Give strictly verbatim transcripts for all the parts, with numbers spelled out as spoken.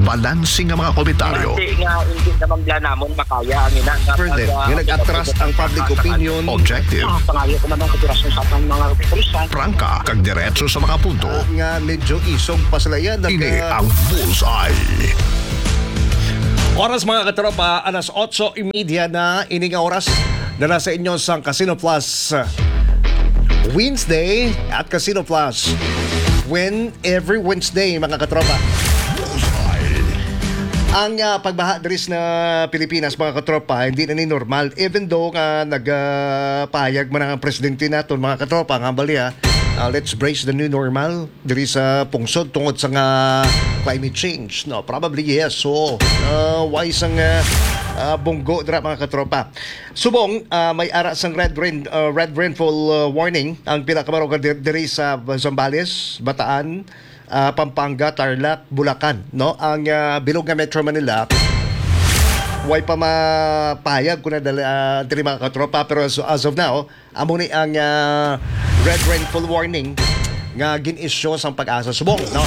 Balanse nga mga komentaryo. Hindi nga, hindi naman bala namon makaya ang ina nga Further, pag, ah, nga nag-atras ang public opinion. Objective. Ah, pangayo ko man ang kooperasyon sa atong mga kapulisan. Prangka, kag diretso sa mga punto. Ah, nga medyo isog pa sila yan. Ini ang Bullseye. Oras, mga katropa, alas otso y media na ini nga oras. Dala sa inyo sang Casino Plus Wednesday at Casino Plus. Win every Wednesday, mga katropa. Ang, ah, pagbaha diri sa Pilipinas, mga katropa, hindi na ni normal. Even though nga nagpahayag man ang presidente naton, mga katropa, nga bali, ah, ah, let's brace the new normal diri sa pungsod tungod sa nga climate change, no? Probably yes. So, ah, why sang, ah, ah, bunggo dira, mga katropa? Subong, ah, may ara sang red rain, ah, red rainfall, ah, warning ang pila ka barangay dir-, diri sa Zambales, Bataan, ah, Pampanga, Tarlac, Bulacan, no? Ang, ah, bilog nga Metro Manila, way pa mapahayag kung nadala, ah, diri, mga katropa, pero as, as of now, amo ni ang, ah, red rainfall warning nga gin-issue sang PAGASA subong, no?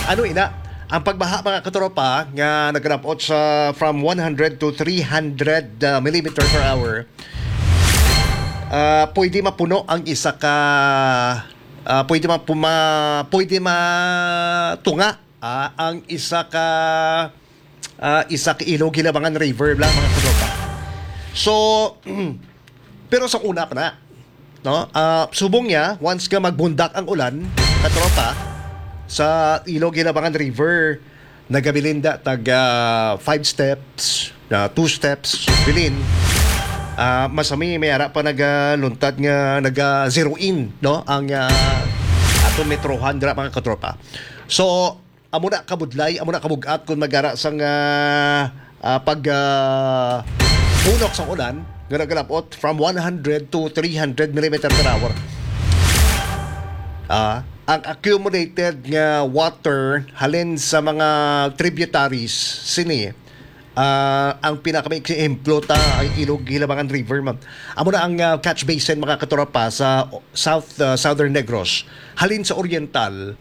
Ano ina? Ang pagbaha, mga katropa, nga nagalab-ot sa from one hundred to three hundred, ah, millimeter per hour, ah, pwede mapuno ang isa ka, ah, pwede ma-, puma-, pwede matunga, ah, ang isa ka, ah, isa ka Ilog Hilabangan River bala, mga katropa. So, pero sa una pa na, no? Ah, subong niya, once nga magbundak ang ulan, katropa, sa Ilog Hilabangan River, nagabilin da tag, ah, five steps, ah, two steps, bilin. Ah, masami, may ara pa nagaluntad nga naga-zero in, no? Ang, ah, aton metrohan dira, mga katropa. So, amo na kabudlay, amo na kabug-at kung magara sang, ah, ah, pag, ah, bunok sang ulan nga nagalab-ot from one hundred to three hundred millimeter per hour. Ah, ang accumulated nga water halin sa mga tributaries sini, ah, ang pinakamaiksi ehemplo ta ang Ilog Hilabangan River, ma'am. Amo na ang, ah, catch basin, mga katropa, sa South, ah, Southern Negros. Halin sa Oriental,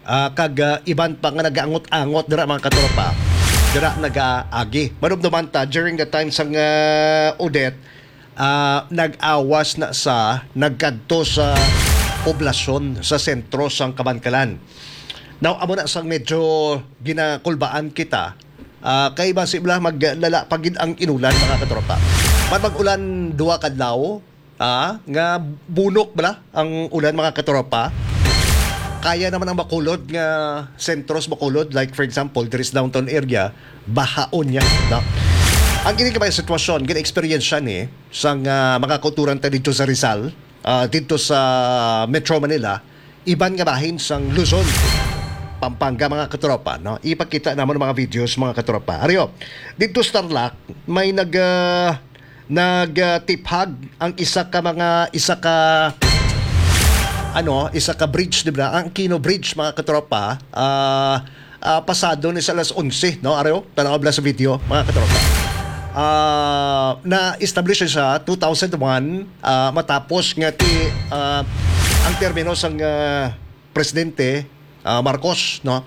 ah, kag, ah, iban pa nga nagaangot-angot dira, mga katropa, dira nagaagi. Manumduman ta, during the time sang, ah, Odette, ah, nag-awas na sa, nagkadto sa poblasyon sa sentro sang Kabankalan. Now, amo na sang medyo ginakulbaan kita, ah, kay basi bala maglala pa gid ang inulan, mga katropa. Man mag-ulan duha kadlaw, ah, nga bunok bala ang ulan, mga katropa. Kaya naman ang Bacolod nga sentros Bacolod, like for example, diri sa downtown area, bahaon niya, no? Ang gini kabay sitwasyon, gina-experience siya ni sang, ah, mga kauturan ta dito sa Rizal, ah, dito sa Metro Manila, iban nga bahin sang Luzon, Pampanga, mga katropa, no? Ipakita namon ang mga videos, mga katropa. Ariyo, dito sa Tarlac, may nag, ah, nagtiphag ang isa ka mga, isa ka, ano, isa ka bridge, di ba? Ang Aquino Bridge, mga katropa, ah, ah, pasado ni sa alas onse, no? Ariyo, tanaw bala sa video, mga katropa. Ah, na-establish siya two thousand one, ah, matapos nga ti, ah, ang termino sang, ah, Presidente, ah, Marcos, no?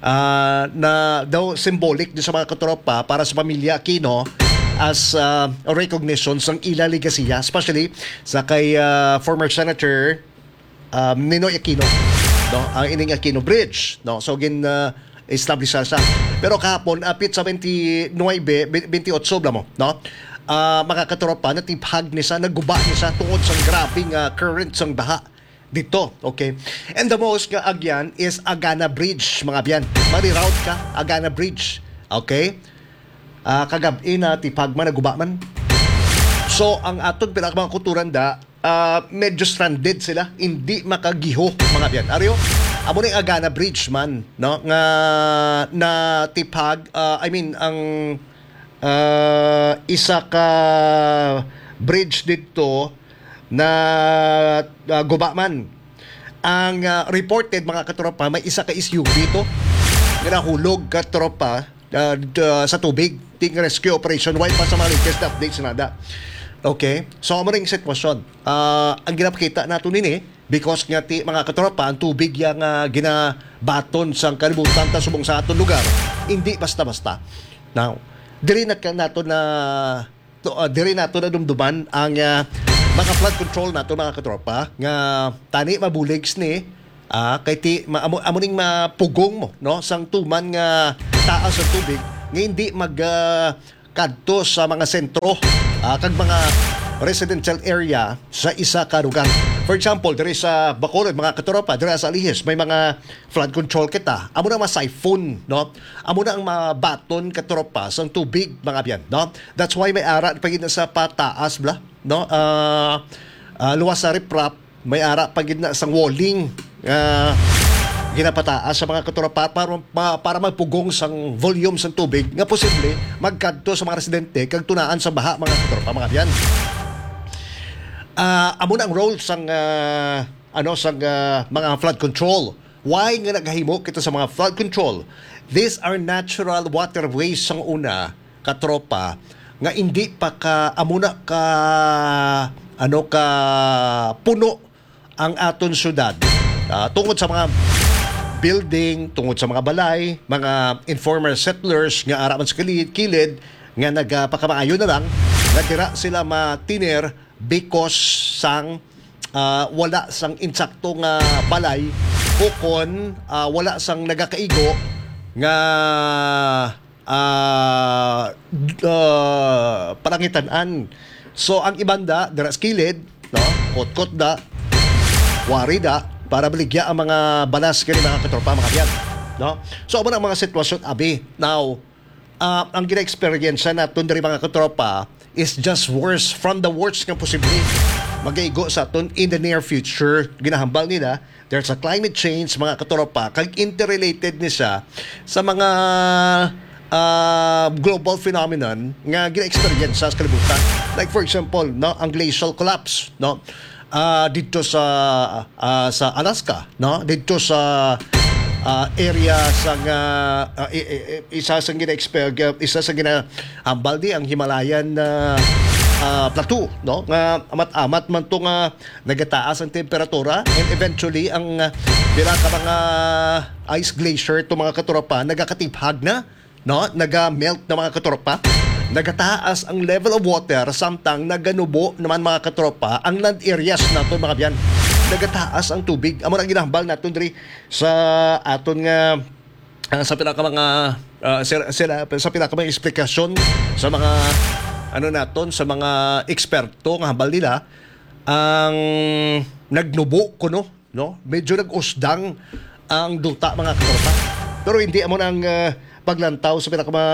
Ah, na daw symbolic din sa mga katropa para sa pamilya Aquino as, ah, recognition sang ila legasiya, especially sa kay, ah, former Senator, um, Ninoy Aquino, no? Ang ining Aquino Bridge, no? So, gin, ah, establish siya. Pero kahapon, apit sa twenty-nine, be-, twenty-eight bala mo, no? Ah, mga katropa, natiphag ni sa, naguba ni sa tungod sa grabing, ah, current sang baha dito, okay? And the most nga agyan is Agana Bridge, mga abyan. Mariroute ka, Agana Bridge, okay? Ah, kagab-i na tiphag man, naguba man. So, ang aton pila ka mga kauturan da, ah, medyo stranded sila, hindi makagiho, mga abyan. Ariyo, amo ni Agana Bridge man, no? Nga natiphag, ah, I mean, ang, ah, isa ka bridge dito na, ah, guba man. Ang, ah, reported, mga katropa, may isa ka S U V to nga nahulog, katropa, ah, d-, ah, sa tubig. Ting rescue operation, way pa sa mga latest updates na da. Okay? So, amo ning sitwasyon. Ah, ang ginapakita nato nini, Because nga ti, mga katropa, ang tubig yang, ah, ginabaton sang kalibutan ta subong sa aton lugar, hindi basta-basta. Now, diri na ka-, nato na to, ah, diri nato na dumduman ang, ah, mga flood control nato, mga katropa, nga tani mabulig sini, ah, kay ti ma-, amo, amo ning mapugong mo, no, sang tuman nga taas ang tubig nga hindi mag, ah, kadto sa mga sentro, ah, kag mga residential area sa isa ka lugar. For example, diri sa Bacolod, mga katropa, diri sa Alihis, may mga flood control kita. Amo na ma-siphon, no? Amo na ang mabaton, katropa, sang tubig, mga abyan, no? That's why may ara pa gid na sa pataas, bla, no? Ah, ah, luwas sa riprap, may ara pa gid na sang walling, ah, ginapataas sa mga katropa para, ma-, para magpugong sang volume sang tubig nga posible magkadto sa mga residente kag tunaan sa baha, mga katropa, mga abyan. Ah, amo na ang role sang, ah, ano, sang, ah, mga flood control. Why nga nagahimo kita sa mga flood control? These are natural waterways sang una, katropa, nga hindi pa ka, amo na ka, ano, ka puno ang aton syudad. Ah, tungod sa mga building, tungod sa mga balay, mga informal settlers nga ara man sa kilid, kilid, nga nagapakamaayo na lang, nga dira sila matiner because sang, ah, wala sang insakto nga balay, o kon, ah, wala sang nagakaigo nga, ah, d-, ah, palangitan-an. So, ang ibanda, dira sa kilid, no? Kotkot da, wari da, para baligya ang mga balas kini, mga katropa, mga abyan, no? So, amo na ang mga sitwasyon, abi. Now, ah, ang gina-experience naton diri, mga katropa, is just worse from the worst nga posible magaigo sa aton in the near future. Ginahambal nila, there's a climate change, mga katropa, kag interrelated ni siya sa mga, ah, global phenomenon nga gina-experience sa kalibutan. Like, for example, no, ang glacial collapse, no? Ah, dito sa, ah, sa Alaska, no? Dito sa, ah, area sa nga, ah, i-, i-, i-, isa sa gina-exper-, isa sa ginahambal di ang Himalayan, ah, ah, Plateau, no? Nga amat-amat man to nga nagataas ang temperatura, and eventually ang, ah, pila ka mga ice glacier to, mga katropa, nagakatiphag na, no? Naga-melt na, mga katropa. Nagataas ang level of water, samtang naganubo naman, mga katropa, ang land areas naton, mga abyan. Nagataas ang tubig. Amo na ang ginahambal naton diri sa aton nga, ah, sa pila ka mga, ah, sila, sila, sa pila ka mga eksplikasyon sa mga, ano naton, sa mga eksperto nga hambal nila, ang nagnubo kuno, no? Medyo nag-usdang ang duta, mga katropa. Pero hindi amo na ang, ah, paglantaw sa pinaka mga,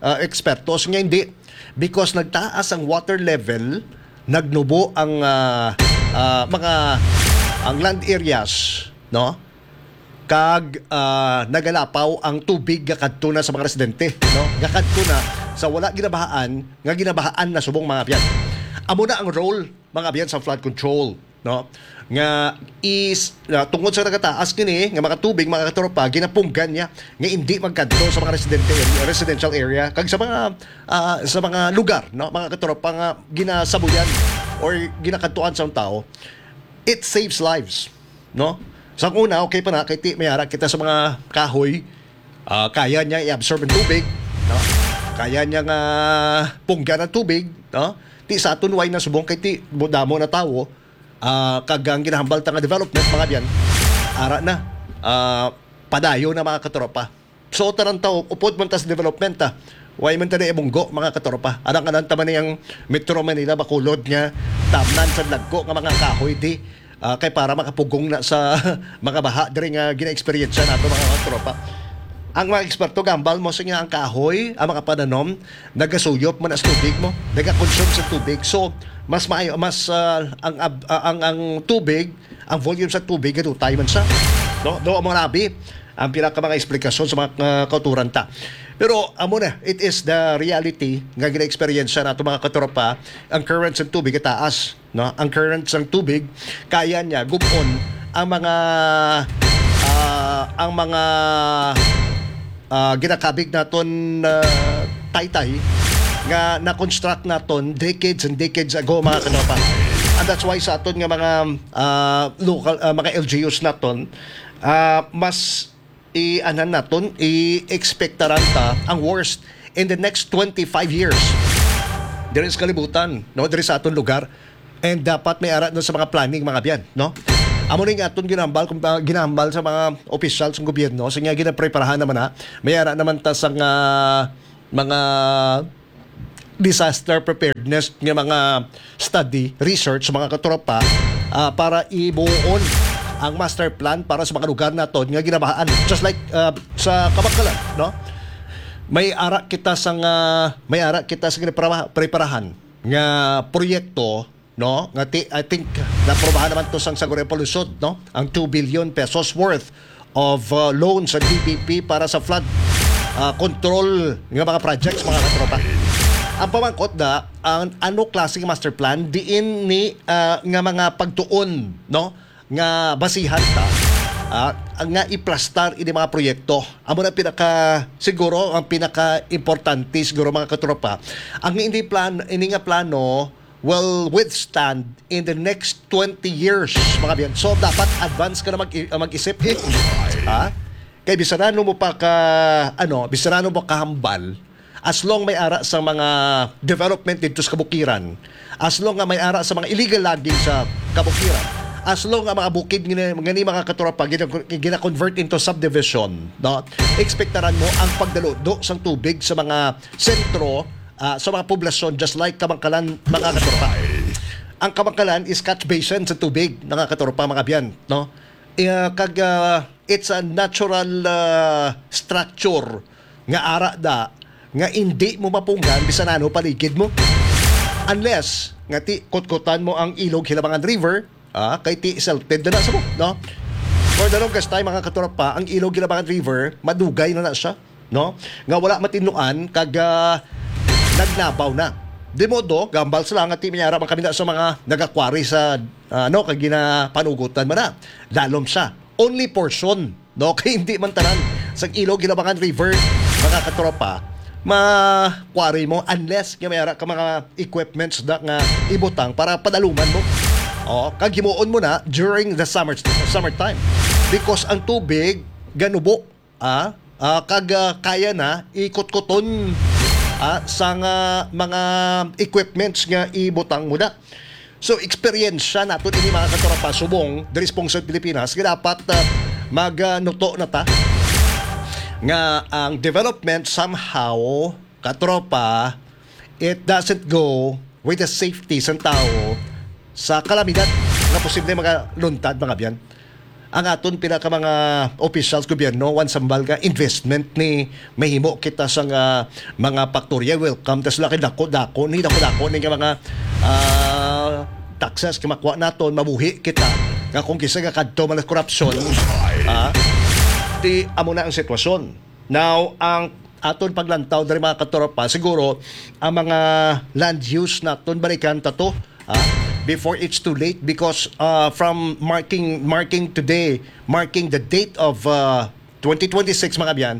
ah, ekspertos nga hindi, because nagtaas ang water level, nagnubo ang, ah, ah, mga, ang land areas, no? Kag, ah, nagalapaw ang tubig gakadto na sa mga residente, no? Gakadto na sa wala ginabahaan, nga ginabahaan na subong, mga abyan. Amo na ang role, mga abyan, sa flood control, no? Nga is, ah, tungod sa nagataas kini nga mga tubig, mga katropa, ginapunggan niya nga hindi magkadto sa mga residente, residential area kag sa mga, ah, sa mga lugar, no, mga katropa, nga ginasabuyan or ginakadtuan sa tao. It saves lives, no? Sa una, okay pa na, kay ti-, may ara kita sa mga kahoy, ah, kaya niya i-absorb ang tubig, no? Kaya niya nga punggan ang tubig, no? Ti sa aton, way na subong kay ti-, damo na tawo, ah, kag ang ginahambal ta nga development, mga abyan, ara na, ah, padayon na, mga katropa. So, tanan tawo, upod man ta sa development, ah. Way man ta na ibunggo, mga katropa. Alang-alang ta man ang Metro Manila, Bacolod nga tamnan sa dagko nga mga kahoy di, ah, kay para makapugong na sa mga baha diri nga gina-experience nato, mga katropa. Ang mga eksperto gambal mo sa nga ang kahoy, ang mga pananom, nagasuyop man as tubig mo, nagakonsume sa tubig. So, mas maayo, mas, ah, ang ab-, ah, ang, ang tubig, ang volume sa tubig, gadutay man siya. No? Do mo nabi ang pinaka mga eksplikasyon sa mga, ah, kauturan ta. Pero amo na, it is the reality nga gina-experience nato, mga katropa. Ang current sa tubig taas, no? Ang current sa tubig, kaya niya gubon ang mga, ah, ang mga, ah, ginakabig naton, ah, taytay nga na-construct naton decades and decades ago, mga katropa. And that's why sa aton nga mga, ah, local, ah, mga L G Us naton, ah, mas i-anan naton, i-expectaran ta ang worst in the next twenty-five years. Diri sa kalibutan, no? Diri sa aton lugar. And dapat may ara na sa mga planning, mga biyan, no? Amo ni nga aton ginambal, kung, ah, ginambal sa mga opisyal sa gobyerno, sa nga ginapreparahan naman na, may ara naman ta sa nga mga disaster preparedness nga mga study, research, mga katropa, ah, para ibuon ang master plan para sa mga lugar naton nga ginabahaan. Just like, ah, sa Kabacalan, no? May ara kita sa nga, may ara kita sa ginaprepara-, preparahan nga proyekto, no? Nga ti-, I think naprobahan naman to sang Sangguniang Panlungsod, no? Ang two billion pesos worth of, uh, loan sa D B P para sa flood, uh, control nga mga projects, mga katropa. Ang pamangkot na, ang ano klase nga master plan diin ni, uh, nga mga pagtuon, no, nga basihan ta, uh, nga iplastar ini mga proyekto. Amo na pinaka, siguro ang pinaka importante siguro, mga katropa, ang ini plan, ini nga plano will withstand in the next twenty years, mga biyan. So, dapat advance ka na mag-, mag-isip, eh. Ha? Kay bisan ano mo pa ka, ano, bisan ano mo kahambal, as long may ara sa mga development dito sa kabukiran, as long nga may ara sa mga illegal logging sa kabukiran, as long nga mga bukid nga, nga ni mga katropa, gina-, gina-convert into subdivision, no? Ekspektaran mo ang pagdaludo sang tubig sa mga sentro, ah, sa mga poblasyon, just like Kabacalan, mga katropa. Ang Kabacalan is catch basin sa tubig, mga katropa, mga biyan, no? Eh, kag, ah, it's a natural, ah, structure nga ara da nga indi mo mapunggan bisan ano paligid mo. Unless nga ti kutkutan mo ang Ilog Hilabangan River, ah, kay ti silted na na sa mo, no? For the longest time, mga katropa, ang Ilog Hilabangan River, madugay na na siya, no? Nga wala matinluan, kag, ah, nagnabaw na. Di modo, gambal sila nga ti may ara man kami na sa mga nagakwari sa, ah, ano, kag ginapanugutan man na. Lalom siya. Only portion, no? Kay hindi man tanan sa Ilog Hilabangan River, mga katropa, ma-quarry mo unless nga may ara ka mga equipments da nga ibutang para padaluman mo. Oh, kag himuon mo na during the summer, summertime. Because ang tubig ganubo, ah, ah, kag, ah, kaya na ikutkuton, ah, sa nga mga equipments nga ibutang mo na. So, eksperyensya naton ini, mga katropa, subong diri sa Pungsod Pilipinas, nga dapat, ah, mag, ah, nuto na ta nga ang development somehow, katropa, it doesn't go with the safety sang tawo sa kalamidad nga posible makaluntad, mga biyan. Ang aton pila ka mga officials gobyerno, wan sambal nga investment ni mahimo kita sa nga mga paktorya. Welcome ta sila kay dako-dako ni, dako-dako ni nga mga, ah, taxes nga makuha naton, mabuhi kita nga kung kisa nga kadto man ang korupsyon, ah, di amo na ang sitwasyon. Now, ang aton paglantaw diri, mga katropa, siguro ang mga land use naton balikan ta to, ah, before it's too late, because, ah, from marking marking today, marking the date of, ah, twenty twenty-six, mga biyan,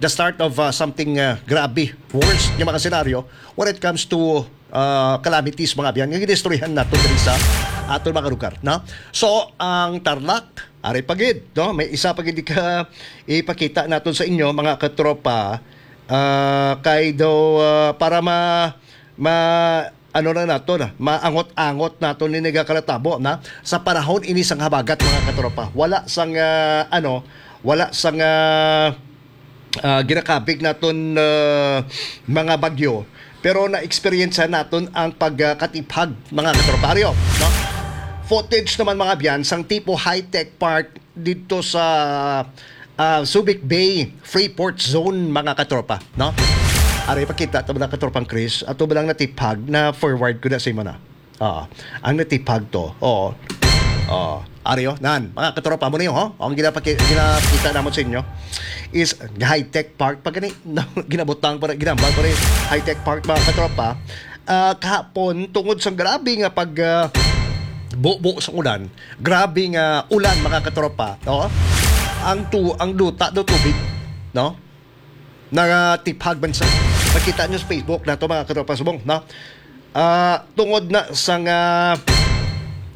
the start of, ah, something, ah, grabe, worse nga mga senaryo when it comes to, ah, calamities, mga biyan, nga ginistoryahan nato diri sa aton mga lugar, no? So, ang Tarlac, ari pa gid, no? May isa pa gid ka ipakita naton sa inyo, mga katropa, ah, kay daw, ah, para ma-, ma-, ano na nato na, maangot-angot nato ni nagakanatabo na sa panahon ini sang habagat, mga katropa. Wala sang, ah, ano, wala sang, ah, ah, ginakabig naton, ah, mga bagyo, pero na-experience naton ang pagkatiphag, mga katropa. Ari, no? Footage naman, mga biyan, sang tipo high-tech park dito sa, ah, Subic Bay, Freeport Zone, mga katropa, no? Ari, pakita to, mga katropang Chris, ato ba lang natiphag na forward ko na sa imo na? Oo. Ang natiphag to. Oo. Oo. Ari, oh, nan, mga katropa mo niyo, ho? Ang ginapaki-, ginapakita namon sa inyo is high-tech park pa gani. Ginabutang pa rin, ginambal pa rin high-tech park, mga katropa. Ah, kahapon, tungod sa grabe nga pag, ah, bubo sa ulan, grabe nga ulan, mga katropa, no? Ang tu-, ang duta do tubig, no? Nagatiphag man sa, makita nyo sa Facebook nato, mga katropa subong, no? Ah, tungod na sa nga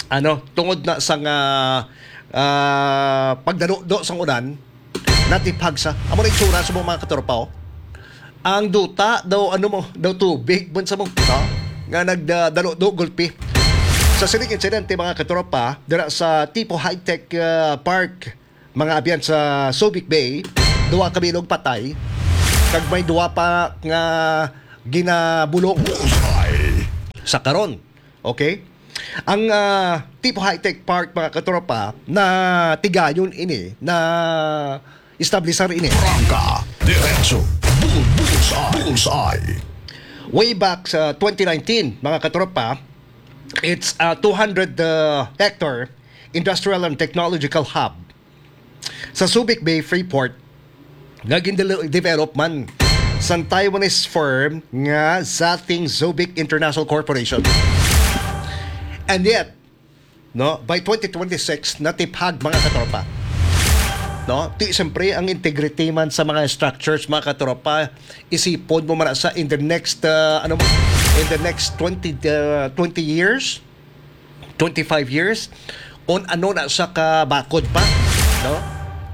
Ano, tungod na sa nga, ah, pagdaludo sang ulan, natiphag sa, amo na itsura sa mga katropa, oh. Ang duta daw, ano mo, daw tubig man sa mo, no? Nga nagdaludo, gulpi. Sa sining insidente, mga katropa, dira sa Tipo High-Tech, ah, Park, mga abyan, sa Subic Bay, duha ka bilog patay, kag may duha pa nga ginabulong. Sa karon, okay? Ang, ah, Tipo High-Tech Park, mga katropa, na tigayon ini, na establisar ini. Prangka, diretso, bull, bullseye, bullseye. Way back sa twenty nineteen, mga katropa, it's a two hundred, uh, hectare industrial and technological hub sa Subic Bay Freeport nga gindevelop man sang Taiwanese firm nga Zating Subic International Corporation. And yet, no, by twenty twenty-six, natiphag, mga katropa. No? Ti, siyempre, ang integrity man sa mga structures, mga katropa, isipon mo man sa in the next, uh, ano mo, in the next twenty, uh, twenty years, twenty-five years, on ano na sa kabakod pa, no?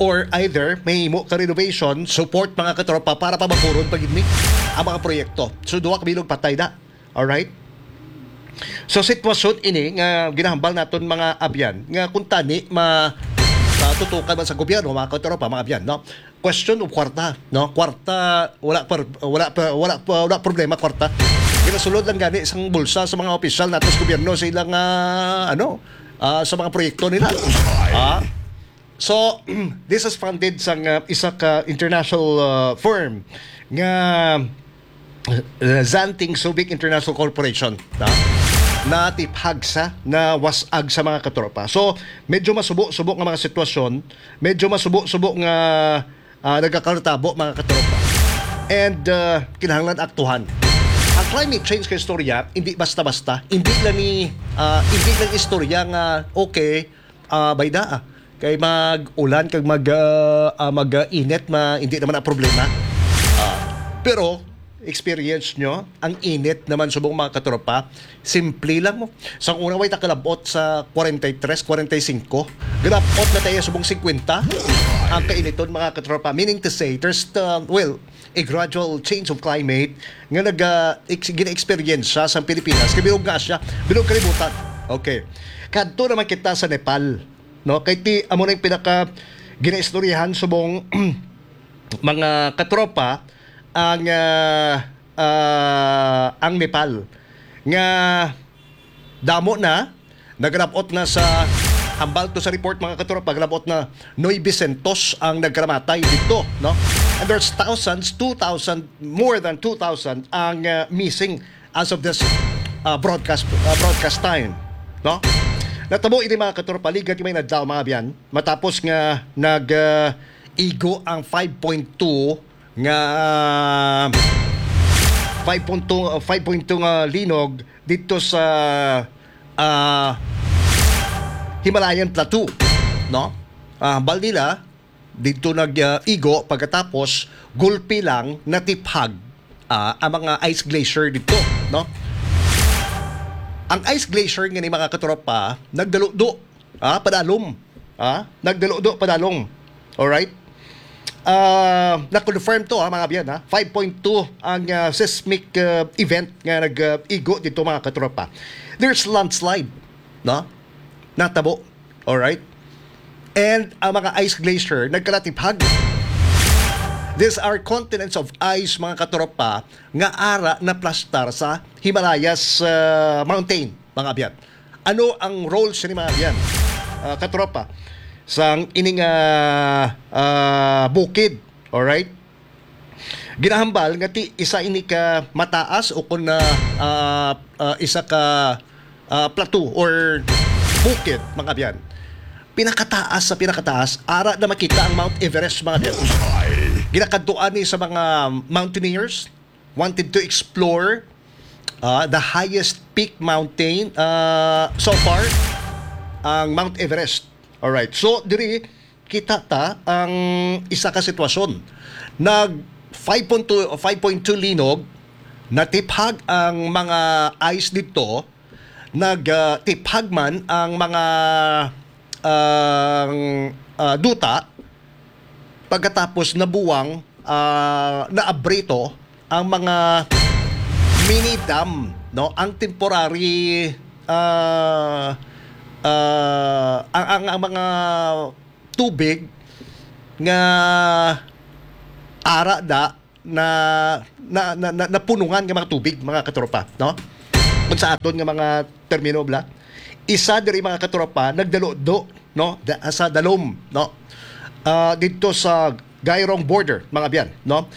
Or either may imo ka renovation, support, mga katropa, para pabakuron pa gid ni ang mga proyekto. So, duha ka bilog patay na. Alright? So, sitwasyon ini nga ginahambal naton, mga abyan, nga kung tani ma-, matutukan man sa gobyerno, mga katropa, mga abyan, no? Question of kwarta, no? Kwarta, wala pa, wala pa, wala pa, wala problema kwarta. Ginasulod lang gani sang bulsa sa mga opisyal nato sa gobyerno sa ilang, ah, ano, ah, sa mga proyekto nila. Ah, so, this is funded sang, ah, isa ka international, ah, firm nga, uh, Zanting Subic International Corporation, na natiphag sa, na was-ag sa, mga katropa. So, medyo masubo-subo nga mga sitwasyon, medyo masubo-subo nga, ah, nagakalatabo, mga katropa. And, ah, kinahanglan aktuhan. Ang climate change kay istorya, hindi basta-basta, hindi lang ni, ah, hindi lang istorya nga, okay, ah, bayda, ah, kay mag-ulan, kag mag, ah, ah, mag, ah, init, ma-, hindi naman ang problema. Ah, pero, experience nyo, ang init naman subong, mga katropa, simple lang mo. Sa una, way ta kalabot sa forty-three, forty-five. Grabot na tayo subong fifty ang kainiton, mga katropa. Meaning to say, there's the, well, a gradual change of climate nga nag, ah, ex-, gina-experience siya sa Pilipinas. Kay bilog nga siya, bilog kalibutan. Okay. Kadto naman kita sa Nepal, no? Kay ti, amo na yung pinaka ginaistoryahan subong mga katropa ang, ah, ah, ang Nepal nga damo na nagrabot na sa, hambal to sa report, mga katropa, nagrabot na nuebe siyentos ang nagkaramatay dito, no? And there's thousands, two thousand, more than two thousand ang, ah, missing as of this, ah, broadcast, ah, broadcast time, no? Natabo ini, mga katropa, ligat may nadlaw, mga abyan, matapos nga nag, ah, igo ang five point two nga, ah, five point two, ah, five point two nga linog dito sa, ah, Himalayan Plateau, no? Ah, hambal nila, dito nag, ah, igo, pagkatapos gulpi lang natiphag, ah, ang mga ice glacier dito, no? Ang ice glacier nga ni, mga katropa, nagdaludo, ah, padalom, ah, nagdaludo padalom. Alright? Ah, na-confirm to, ha, mga abyan, ha. Five point two ang, ah, seismic, ah, event nga nag, ah, igo dito, mga katropa. There's landslide, no? Natabo. Alright? And ang mga ice glacier nagkalatiphag. These are continents of ice, mga katropa, nga ara naplastar sa Himalayas, ah, Mountain, mga abyan. Ano ang role sa ni, mga abyan, ah, katropa, sa ining, ah, ah, bukid? Alright? Ginahambal nga ti isa ini ka mataas o kun, ah, ah, ah, isa ka, ah, plateau or bukid, mga abyan. Pinakataas sa pinakataas, ara na makita ang Mount Everest, mga abyan. Ginakadtuan ni sa mga mountaineers, wanted to explore, ah, the highest peak mountain, ah, so far, ang Mount Everest. Alright. So, diri, kita ta ang isa ka sitwasyon. Nag five point two, five point two linog, natiphag ang mga ice dito, nag, ah, tiphag man ang mga, ang, ah, duta, pagkatapos nabuwang, ah, naabrito ang mga mini dam, no? Ang temporary, ah, ah, ang, ang, ang mga tubig nga ara da na, na, na, na, napunungan nga mga tubig, mga katropa, no? Kung sa aton nga mga termino, bla, isa diri, mga katropa, nagdaludo, no? Da, sa dalom, no? Ah, didto sa Gairong border, mga abyan, no?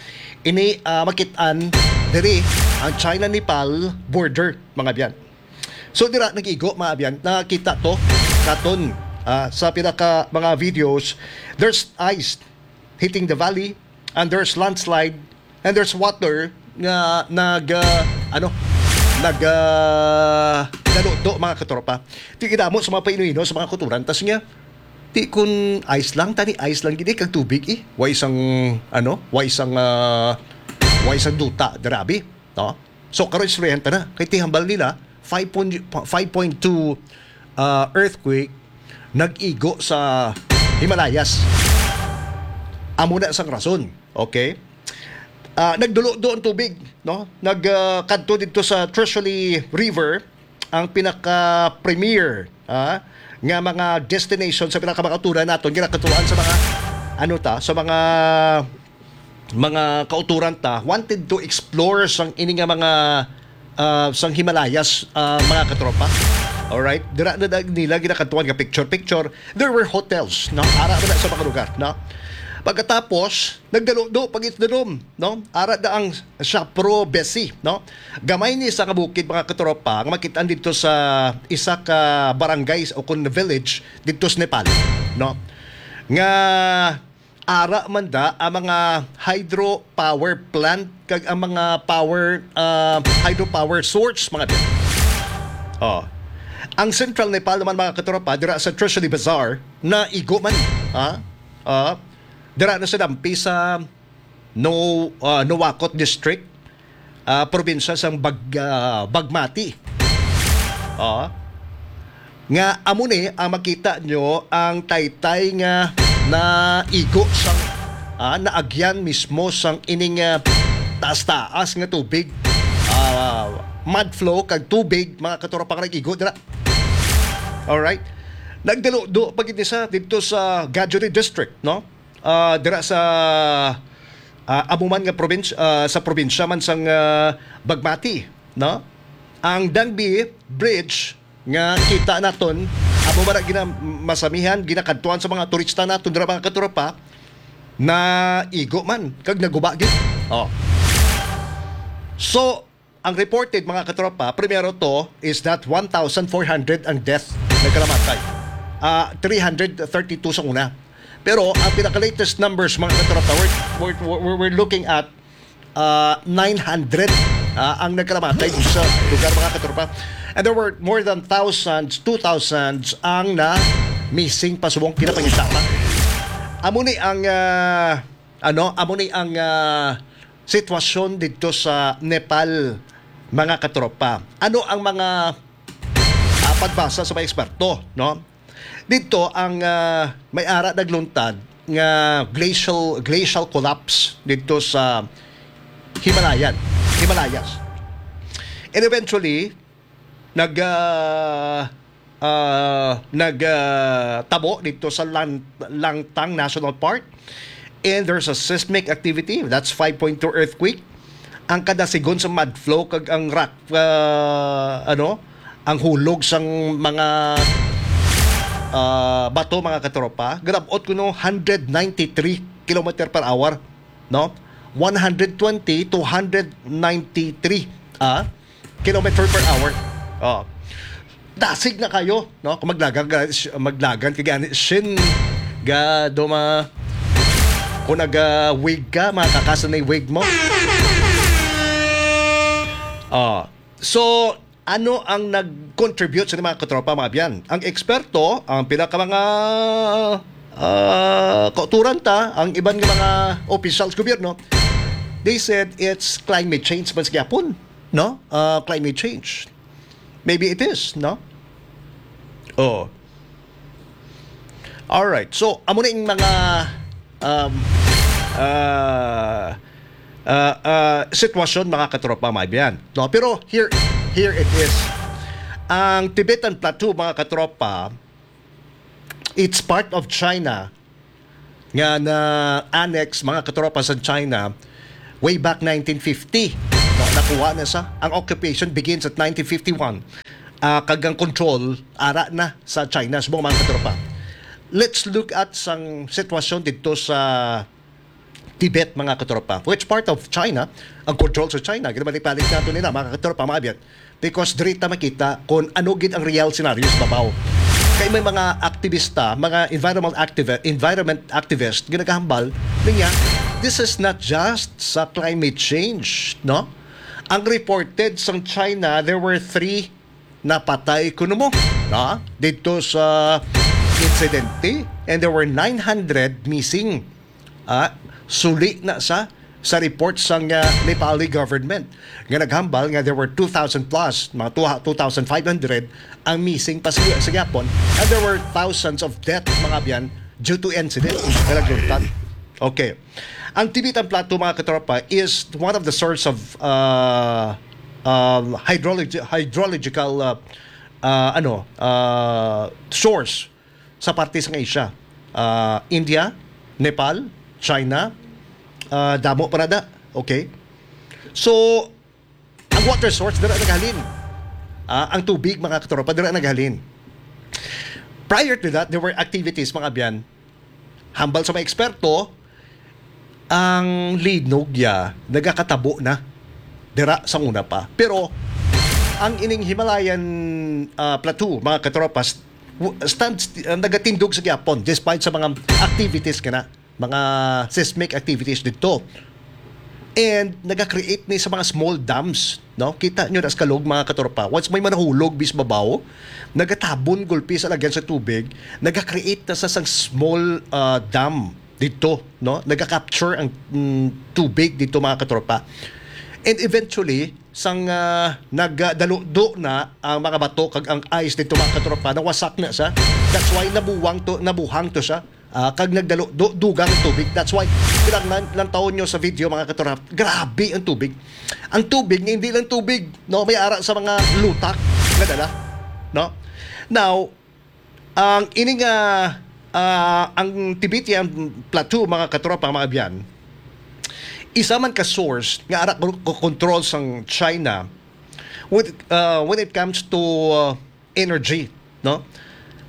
Ini, ah, makit-an diri ang China-Nepal border, mga abyan. So, dira nag-igo, mga abyan, nakita to katon, ah, sa pila ka mga videos. There's ice hitting the valley, and there's landslide, and there's water nga nag, ah, ano, nag, ah, daludo, mga katropa. Di gid amo sa mga paino-ino sa mga kuturan. Tas nga, di kun ice lang, tani ice lang gid eh, kag tubig eh. Wa isang, ano, wa isang, ah, wa isang duta, grabe, no? So, karon istoryahan ta na. Kay tihambal nila, five point, five point two, ah, earthquake nag-igo sa Himalayas. Amo na sang rason, okay? Ah, nagdulo-do ang tubig, no? Nag, ah, kadto didto sa Trishuli River, ang pinaka-premier, ah, nga mga destination sa pinakamakaturan naton, ginakatuan sa mga, ano ta, sa mga, mga kauturan ta, wanted to explore sang ini nga mga, ah, sang Himalayas, ah, mga katropa. Alright? Dira na, na nila ginakatuan nga picture-picture. There were hotels, no? Ara na sa mga lugar, no? Pagkatapos, nagdaludo pag it's the dome, no? Ara na ang Shapro Besi, no? Gamay ni sa kabukid, mga katropa, nga makit-an didto sa isa ka barangay o kun village didto sa Nepal, no? Nga ara man da ang mga hydropower plant kag ang mga power, ah, hydropower source, mga abyan. Oh. Ang Central Nepal naman, mga katropa, dira sa Trishuli Bazar, naigo man, ha? Ah, dira na sa dampi sa No, ah, Nuwakot District, ah, probinsya sang Bag-, ah, Bagmati. Ah, nga amo ni ang makita nyo ang taytay nga naigo sang, ah, naagyan mismo sang ining, ah, taas-taas nga tubig. Ah, mud flow kag tubig, mga katropa, nga nag-igo dira. Alright. Nagdaludo pa gid ni sa didto sa Gajuri District, no? Ah, dira sa, ah, amo man nga probinsya, ah, sa probinsya man sang, ah, Bagmati, no? Ang Dangbi Bridge nga kita naton, amo man ang gina-, masamihan, ginakadtuan sa mga turista naton dira, mga katropa, naigo man kag naguba gid. Oh. So, ang reported, mga katropa, primero to is that one thousand four hundred ang death, nagkalamatay. Ah, three hundred thirty-two sa una. Pero ang pinaka-latest numbers, mga katropa, we're, we're, we're, we're looking at, ah, nine hundred, ah, ang nagkalamatay sa lugar, mga katropa. And there were more than thousands, two thousands ang na missing pa subong kinapangitama. Amo ni ang, ah, ano, amo ni ang, ah, sitwasyon didto sa Nepal, mga katropa. Ano ang mga, ah, pagbasa sa mga eksperto, no? Didto ang, ah, may ara nagluntad nga glacial, glacial collapse didto sa Himalayan, Himalayas. And eventually, nag, ah, ah, nag, ah, tabo didto sa Lan-, Langtang National Park. And there's a seismic activity, that's five point two earthquake. Ang kadasigon sa mud flow kag ang rock, ah, ano, ang hulog sang mga, ah, bato, mga katropa, grabot kuno hundred ninety-three kilometer per hour, no? One hundred twenty to hundred ninety-three, ah, kilometer per hour. Oh. Dasig na kayo, no? Kung maglagan ka, sh-, maglagan ka gani, shin, ga, duma, kung naga-wig ka, makakasan na yung wig mo. Oh. So, ano ang nag-contribute sa mga katropa, mga abyan? Ang eksperto, ang pila ka mga, ah, kauturan ta, ang iban nga mga opisyal sa gobyerno, they said it's climate change man sa gyapon, no? Ah, climate change. Maybe it is, no? Oh. All right. So, amo na yung mga um, uh, uh, uh, sitwasyon, mga katropa, mga biyan. No? Pero here, here it is. Ang Tibetan Plateau, mga katropa, it's part of China nga na-annex, mga katropa, sa China way back nineteen fifty. No, nakuha na sa, ang occupation begins at nineteen fifty-one. Ah, kag ang control ara na sa China, subong, mga katropa. Let's look at sang sitwasyon dito sa Tibet, mga katropa. Which part of China ang control sa China? Ginabalik-balik nato nila, mga katropa, mga abyan. Because diri ta makita kung ano gid ang real scenario sa babaw. Kay may mga aktivista, mga environmental activi-, environment activist, ginagahambal niya, this is not just sa climate change, no? Ang reported sang China, there were three napatay kuno mo, no? Dito sa insidente, and there were nine hundred missing. Ah, suli na sa, sa report sang, ah, Nepali government nga naghambal nga there were two thousand plus, mga two, two thousand five hundred ang missing pa sa, sa Japon, and there were thousands of death, mga abyan, due to incident nga nagluntad. Okay. Ang Tibetan Plateau, mga katropa, is one of the source of, uh, um, hydrologi-, hydrological, uh, uh, ano, uh, source sa parte sang Asia. Ah, India, Nepal, China, ah, damo pa na da. Okay? So, ang water source, dira naghalin. Ah, ang tubig, mga katropa, dira naghalin. Prior to that, there were activities, mga abyan. Hambal sa mga eksperto, ang linog ya nagakatabo na dira sa una pa. Pero ang ining Himalayan, ah, Plateau, mga katropas, w-, stands, ah, nagatindog sa gyapon despite sa mga activities kana, mga seismic activities dito. And naga-create ni sa mga small dams, no? Kita nyo na sa kalog, mga katropa. Once may manahulog bis babaw, nagatabon gulpi sa lagyan sa tubig, naga-create na sa sang small, ah, dam dito, no? Naga-capture ang, mm, tubig dito, mga katropa. And eventually, sang, ah, nagdaludo na ang mga bato kag ang ice dito, mga katropa, nawasak na siya. That's why nabuwang to, nabuhang to siya. Ah, kag nagdaludo, dugang ang tubig. That's why, kinahanglan lang tawon nyo sa video, mga katropa. Grabe ang tubig. Ang tubig nga hindi lang tubig, no? May ara sa mga lutak nga dala, no? Now, ang ini nga, ah, ang Tibetan Plateau, mga katropa, mga abyan, isa man ka source nga ara ko, ko control sang China with, ah, when it comes to, ah, energy, no?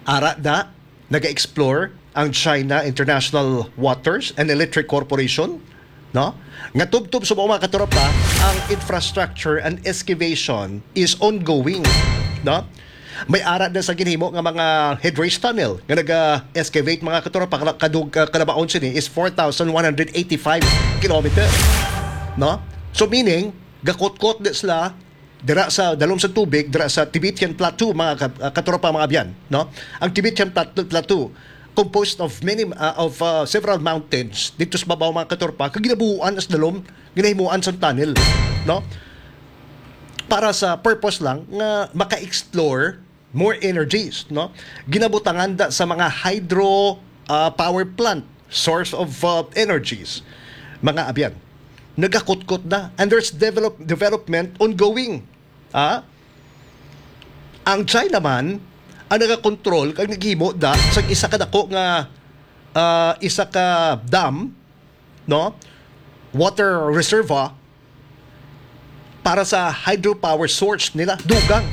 Ara da, naga-explore ang China International Waters and Electric Corporation, no? Nga tubtob sa mga katropa, ang infrastructure and excavation is ongoing, no? May ara na sa ginhimo nga mga headrace tunnel nga naga-excavate, mga katropa, kala-, kadug-, ah, kalabaon sini is four thousand one hundred eighty-five kilometer, no? So, meaning, gakutkot na sila dira sa dalom sa tubig, dira sa Tibetan Plateau, mga ka-, ah, katropa, mga abyan, no? Ang Tibetan Plateau, Plateau, composed of many, ah, of, ah, several mountains dito sa babaw, mga katropa, kag ginabuhuan sa dalom, ginahimuan sa tunnel, no? Para sa purpose lang nga maka-explore more energies, no? Ginabutangan da sa mga hydro, ah, power plant, source of, ah, energies, mga abyan. Nagakutkot na, and there's develop-, development ongoing. Ah? Ang China man ang nagakontrol kag naghimo da sa isa ka dako nga, ah, isa ka dam, no? Water reservoir para sa hydropower source nila, dugang.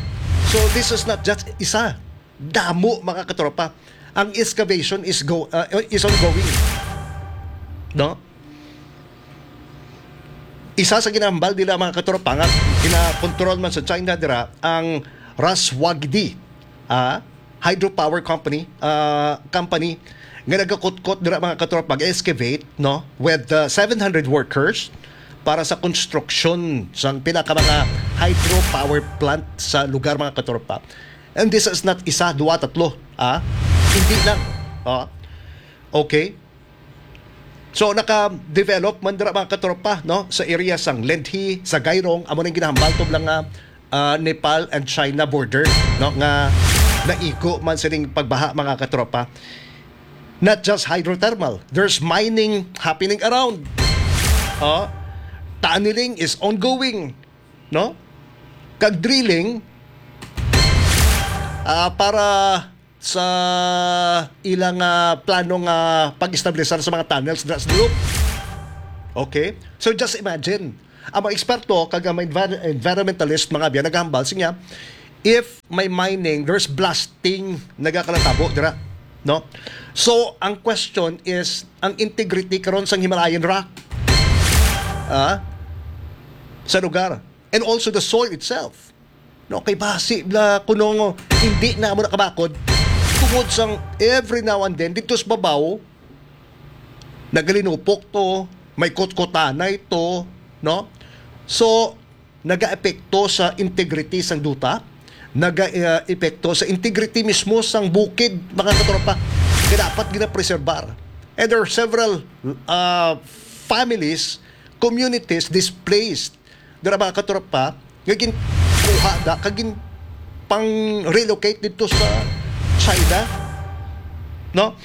So, this is not just isa. Damo, mga katropa. Ang excavation is go, uh, is ongoing. No? Isa sa ginahambal nila, mga katropa, nga ginakontrol man sa China dira ang Raswagdi, ah, hydropower company, ah, company nga nagakutkot dira, mga katropa, mag-excavate, no, with, uh, seven hundred workers para sa konstruksyon sang pila ka mga hydropower plant sa lugar, mga katropa. And this is not isa, duwa, tatlo, ah. Hindi lang. Oh. Okay. So, naka-develop man dira, mga katropa, no, sa area sang Lendhi, sa Gairong, amo nang ginahambal tublang nga ah, Nepal and China border, no, nga naigo man sining pagbaha, mga katropa. Not just hydrothermal, there's mining happening around. Oh, tunneling is ongoing, no? Kag drilling, ah, para sa ilang, ah, plano nga pag-establisar sa mga tunnels dira sa Dulop. Okay? So, just imagine, ang mga eksperto kag ang mga envir-, environmentalist, mga abyan, naghambal siya, if may mining, there's blasting nagakalatabo dira, no? So, ang question is, ang integrity karon sang Himalayan rock, ah, sa lugar, and also the soil itself. No, kay basi bla kuno hindi na mo nakabakod tungod sang every now and then dito sa babaw nagalinupok to, may kutkutanay to, no? So, nagaepekto sa integrity sang duta, naga-, uh, epekto sa integrity mismo sang bukid, mga katropa, nga dapat ginapreserbar. And there are several, uh, families, communities displaced dira, mga katropa, nga ginkuha da kag gin pang-relocate dito sa China, no?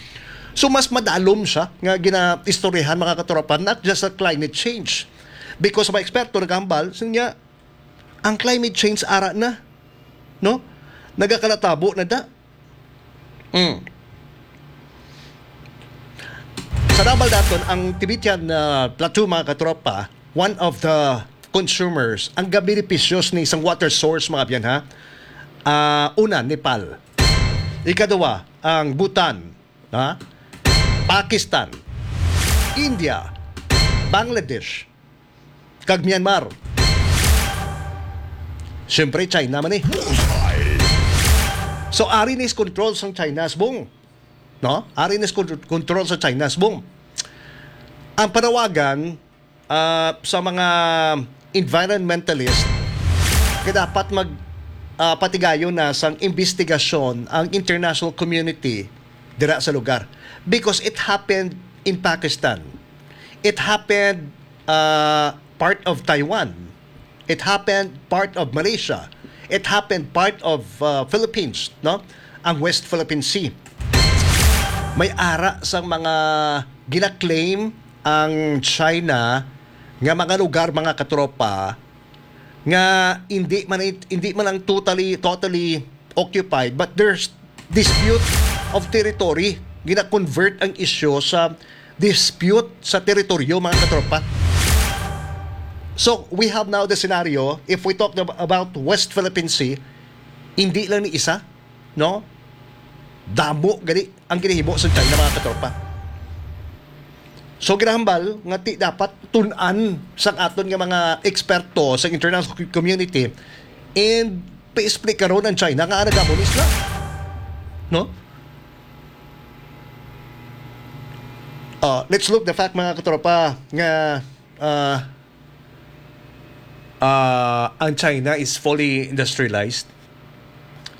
So, mas madalom siya nga ginaistoryahan, mga katropa, not just sa climate change. Because mga eksperto naghambal, siya nga, ang climate change ara na, no? Nagakalatabo na da. Mm. Sa Naval daton, ang Tibetan, ah, Plateau, mga katropa, one of the consumers, ang gabenepisyo ni isang water source, mga abyan, ha? Ah, una, Nepal. Ikaduwa, ang Bhutan, ha? Pakistan, India, Bangladesh, kag Myanmar. Siyempre, China man eh. So, ari ni control sang China, subong. No? Ari ni kon-, control sa China, subong. Ang panawagan, ah, sa mga environmentalist, kay dapat mag, ah, patigayon na sang investigasyon ang international community dira sa lugar. Because it happened in Pakistan. It happened, ah, part of Taiwan. It happened part of Malaysia. It happened part of, uh, Philippines, no? Ang West Philippine Sea. May ara sang mga gina-claim ang China nga mga lugar, mga katropa, nga hindi man it-, hindi man ang totally, totally occupied, but there's dispute of territory. Gina-convert ang isyu sa dispute sa teritoryo, mga katropa. So, we have now the scenario, if we talk ab-, about West Philippine Sea, hindi lang ni isa, no? Damo gani ang ginahimo sa China, mga katropa. So, ginahambal nga ti dapat tun-an sang aton nga mga eksperto sa international community and pa-explikaron ang China nga nagamunis na. No? Uh, let's look the fact, mga katropa, nga, uh, uh, ang China is fully industrialized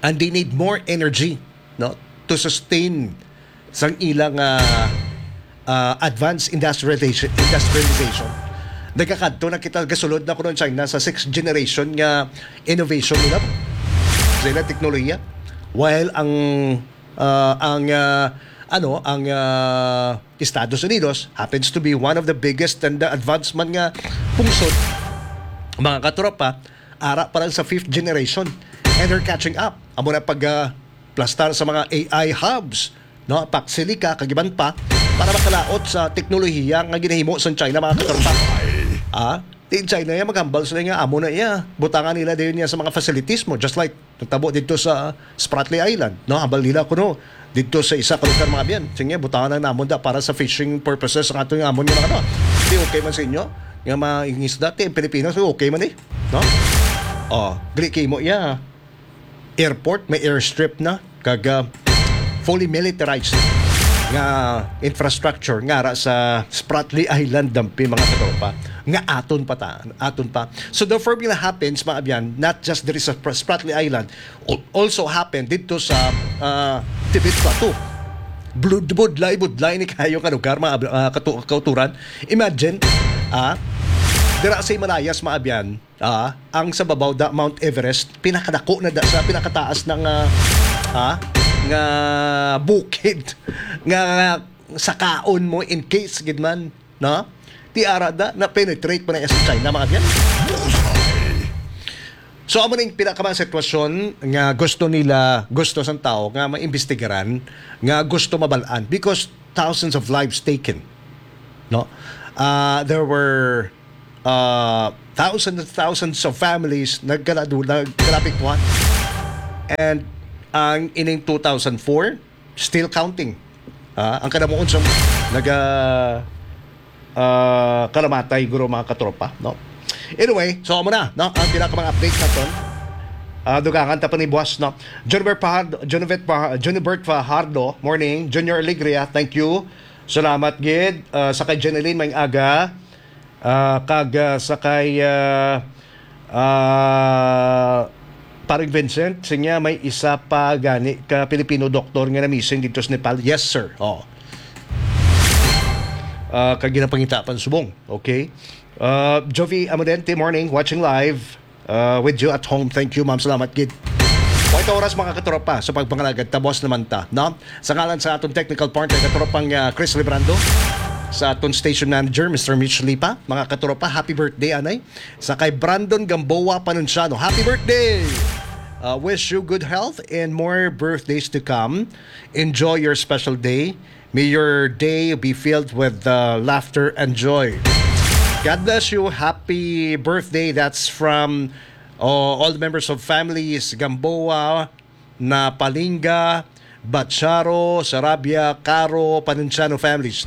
and they need more energy, no, to sustain sang ilang, uh, uh, advanced industrialization, industrialization. Nagakadto na kita, gasulod na kuno ang China sa sixth generation nga innovation nila sa ilang teknolohiya. While ang, uh, ang, uh, ano, ang, uh, Estados Unidos happens to be one of the biggest and the advanced man nga pungsod, mga katropa, ara pa lang sa fifth generation. And they're catching up. Amo na pag, uh, plastar sa mga A I hubs, no? Paksilica, kag iban pa, para makalaot sa teknolohiya nga ginahimo sa China, mga katropa. Ah, di China ya maghambal sila nga amo na iya. Butangan nila dayon niya sa mga facilities mo, just like natabo dito sa Spratly Island, no? Hambal nila kuno dito sa isa ka lugar, mga biyan. Sige, butangan lang namon da para sa fishing purposes ang ato nga amon nga mga, no? Di okay man sa inyo nga mangingisda, ti Pilipinas, okay man eh, no? Oh, gali kay mo iya airport, may airstrip na, kag, ah, fully militarized nga infrastructure nga ara sa Spratly Island, dampi, mga katropa, nga aton pa ta, aton pa. So the formula happens, mga abyan, not just diri sa Spr-, Spratly Island, al-, also happened dito sa, ah, Tibet Plateau. Blud-, budlay, budlay ni kayo ka lugar, mga ab-, ah, katu-, kauturan. Imagine, ah, Dira sa Himalayas, mga abyan, ah, ang sa babaw da Mount Everest, pinakadako na da sa pinakataas na nga, ah, nga bukid nga sakaon mo in case gid man, no? Ti ara da na penetrate pa na sa China, mga abyan. So, amo ning pinakamang sitwasyon nga gusto nila, gusto sang tao nga maimbestigaran, nga gusto mabalaan because thousands of lives taken, no? Ah, there were uh, thousands and thousands of families nagkaladu-, nagkalapit po. And ang ining two thousand four, still counting. Ah, ang kanamuon sa naga ah, kalamatay, guro, mga katropa, no? Anyway, so amo na, no? Ang pinakamang update naton. Ah, dugangan ta pa ni buwas, no? Jonibert Fajardo, Jonibert Fa-, Jonibert Fajardo, morning. Junior Alegria, thank you. Salamat gid. Ah, sa kay Jeneline, may aga. Ah, kag, ah, sa kay, ah, ah, Paring Vincent, sinya may isa pa gani ka Filipino doktor nga na-missing dito sa Nepal. Yes, sir. Oh. Ah, kag ginapangita pa subong. Okay. Ah, Jovi Amodente, morning. Watching live, ah, with you at home. Thank you, ma'am. Salamat gid. Oito oras, mga katropa, sa pagpangalagad, tabos naman ta, no? Sa ngalan sa aton technical partner, katropang, ah, Chris Librando, sa aton station manager, Mister Mitch Lipa, mga katropa, happy birthday, anay. Sa kay Brandon Gamboa Panunciano, happy birthday! Uh, wish you good health and more birthdays to come. Enjoy your special day. May your day be filled with, uh, laughter and joy. God bless you. Happy birthday. That's from, uh, all the members of families Gamboa, Napalinga, Bacharo, Sarabia, Caro, Panunciano families.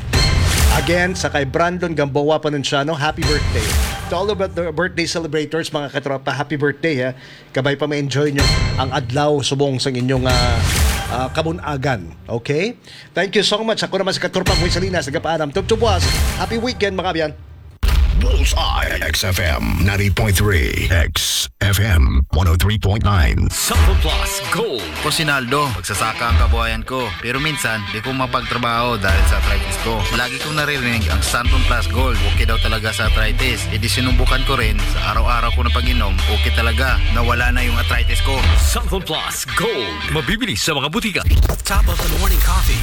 Again, sa kay Brandon Gamboa Panunciano, happy birthday. To all of the birthday celebrators, mga katropa, happy birthday, ha. Kabay pa ma-enjoy nyo ang adlaw subong sang inyong, ah, ah, kabun-agan. Okay? Thank you so much. Ako naman si Katropang Boy Salinas, nagapaalam. Tubtub was. Happy weekend, mga abyan. Bullseye, X F M ninety point three, X F M one oh three point nine. Santon Plus Gold. Ko si Naldo, magsasaka ang kabuhayan ko. Pero minsan, di ko mapagtrabaho dahil sa arthritis ko. Lagi kong naririnig ang Santon Plus Gold. Okay daw talaga sa arthritis. E di sinubukan ko rin. Sa araw-araw ko na pag-inom, okay talaga. Nawala na yung arthritis ko. Santon Plus Gold. Mabibili sa mga butika. A cup of the morning coffee.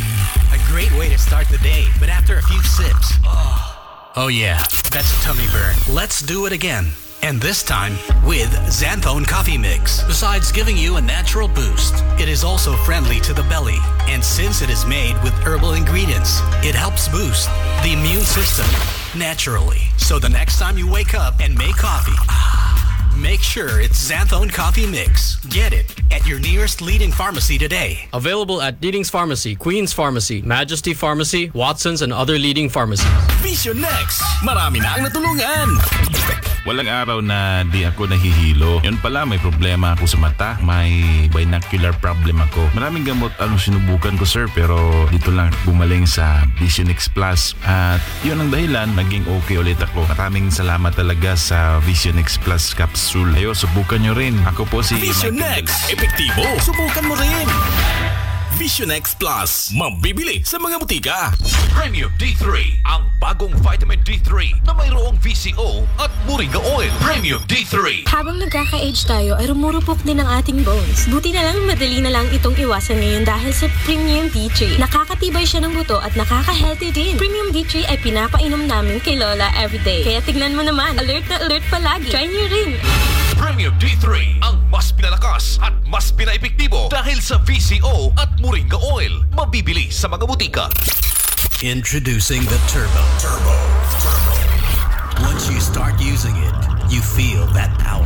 A great way to start the day. But after a few sips, oh, oh yeah, that's a tummy burn. Let's do it again. And this time with Xanthone Coffee Mix. Besides giving you a natural boost, it is also friendly to the belly. And since it is made with herbal ingredients, it helps boost the immune system naturally. So the next time you wake up and make coffee, ah, make sure it's Xanthone Coffee Mix. Get it at your nearest leading pharmacy today. Available at Deedings Pharmacy, Queen's Pharmacy, Majesty Pharmacy, Watson's, and other leading pharmacies. Vision Next. Marami na ang natulungan. Walang araw na di ako nahihilo. Yun pala, may problema ako sa mata. May binocular problem ako. Maraming gamot ang sinubukan ko, sir, pero dito lang gumaling sa Vision X Plus. At yun ang dahilan, naging okay ulit ako. Maraming salamat talaga sa Vision X Plus capsule. Ayo, subukan nyo rin. Ako po si Vision Michael X. Epektibo. Subukan mo rin. Vision X Plus. Mabibili sa mga butika. Premium D three, ang bagong vitamin D three na mayroong V C O at moringa oil. Premium D three. Habang nagkaka-age tayo, ay rumurupok din ang ating bones. Buti na lang, madali na lang itong iwasan ngayon dahil sa Premium D three. Nakakatibay siya ng buto at nakaka-healthy din. Premium D three ay pinapainom namin kay Lola everyday. Kaya tignan mo naman, alert na alert palagi. Try niyo rin. Premium D three, ang mas pinalakas at mas pinaepektibo dahil sa V C O at moringa oil. Mabibili sa mga butika. Introducing the Turbo. Turbo. Turbo. Once you start using it, you feel that power.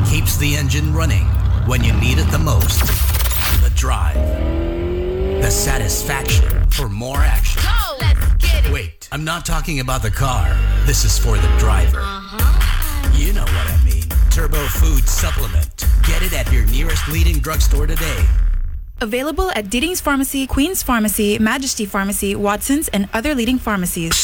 Keeps the engine running when you need it the most. The drive. The satisfaction for more action. Go! Let's get it! Wait, I'm not talking about the car. This is for the driver. Uh-huh. You know what I mean. Turbo Food Supplement. Get it at your nearest leading drugstore today. Available at Deedings Pharmacy, Queen's Pharmacy, Majesty Pharmacy, Watson's, and other leading pharmacies.